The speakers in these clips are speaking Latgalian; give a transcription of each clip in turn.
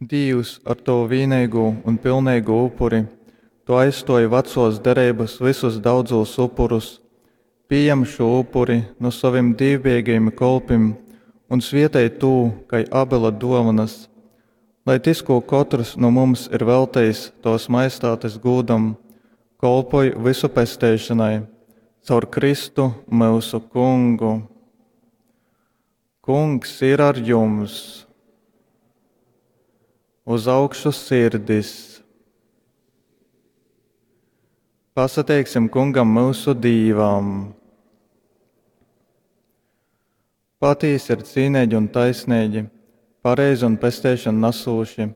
Dīvs, ar tovu vīneigū un pilneigū upuri tu aizstōji vacōs dereibas vysus daudzūs upurus. Pījem šū upuri nu sovim dīvbijeigajim kolpim un svietej tū kai Abela dōvonas, lai tys, kū kotrs nu mums ir veltejis tovas Majestātes gūdam, kolpoj vysu pesteišonai. Caur Kristu, myusu Kungu. Kungs ir ar jums! Uz augšu sirdis! Pasateiksim Kungam myusu Dīvam! Patīsi ir cīneigi un taisneigi, pareizi un pesteišonu nasūši,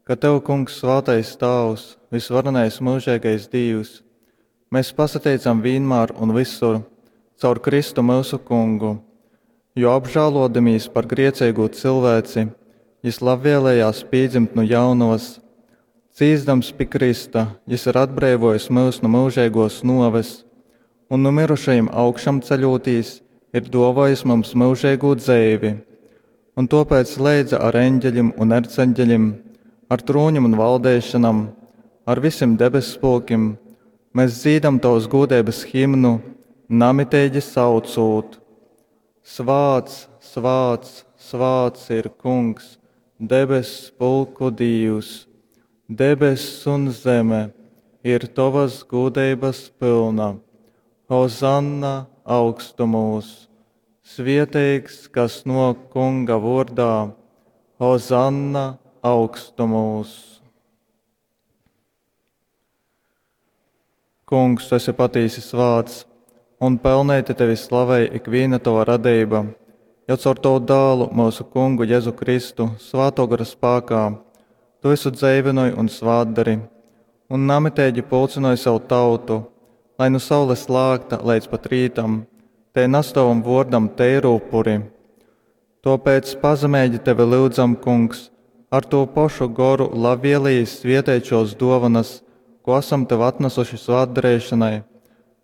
ka Tev, Kungs, svātais Tāvs, vysvarenais myužeigais Dīvs, mēs pasateicam vīnmār un visur, caur Kristu myusu Kungu, jo apžālōdamīs par grieceigū cilvēci, Jys labvēlējās pīdzimt nu jaunovas. Cīsdams pi krysta, Jys ir atbreivōjis myus nu myužeigōs nōves un nu myrušajim augšamceļūtīs ir dōvōjis mums myužeigū dzeivi. Un tōpēc leidza ar eņģeļim un erceņģeļim, ar trūņim un valdeišanam, ar visim debesspulkim, mēs dzīdam tovas gūdeibas himnu, namiteigi saucūt: Svāts, svāts, svāts ir Kungs, debess pulku Dīvs, debess un zeme ir tovas gūdeibas pylna. Hozanna augstumūs! Svieteigs, kas nōk Kunga vōrdā, Hozanna augstumūs! Kungs, tu esi patīsi svāts, un pelneiti tevi slavej ikvīna tova radeiba, jo caur tovu dālu, myusu Kungu Jezu Kristu, svātō gora spākā, tu visu dzeivynoj un svātdari, un namiteigi pulcynoj savu tautu, lai nu saules lākta leidz pat rītam tei nas tovam vōrdam teiru upuri. Tōpēc pazemeigi tevi lyudzam, Kungs, ar tū pošu goru labvēlījis svieteit šōs dōvanas, ko asam tev atnasuši svātdareišanai,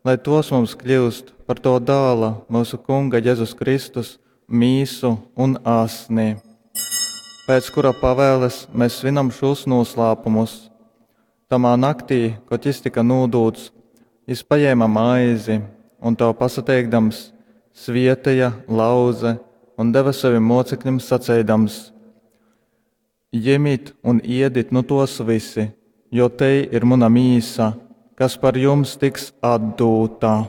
lai tos mums kļūst par to dāla, myusu Kunga Jezus Kristus, mīsu un asni, pēc kura pavēles mēs svinam šos noslēpumus. Tamā naktī, kad jis tika nūdūts, jis paņēma maizi un tev pasateikdams, svieteja, lauze un deva saviem mocekļiem saceidams: Jemit un iedit nu tos visi, jo te ir muna mīsa, kas par jums tiks atdūta.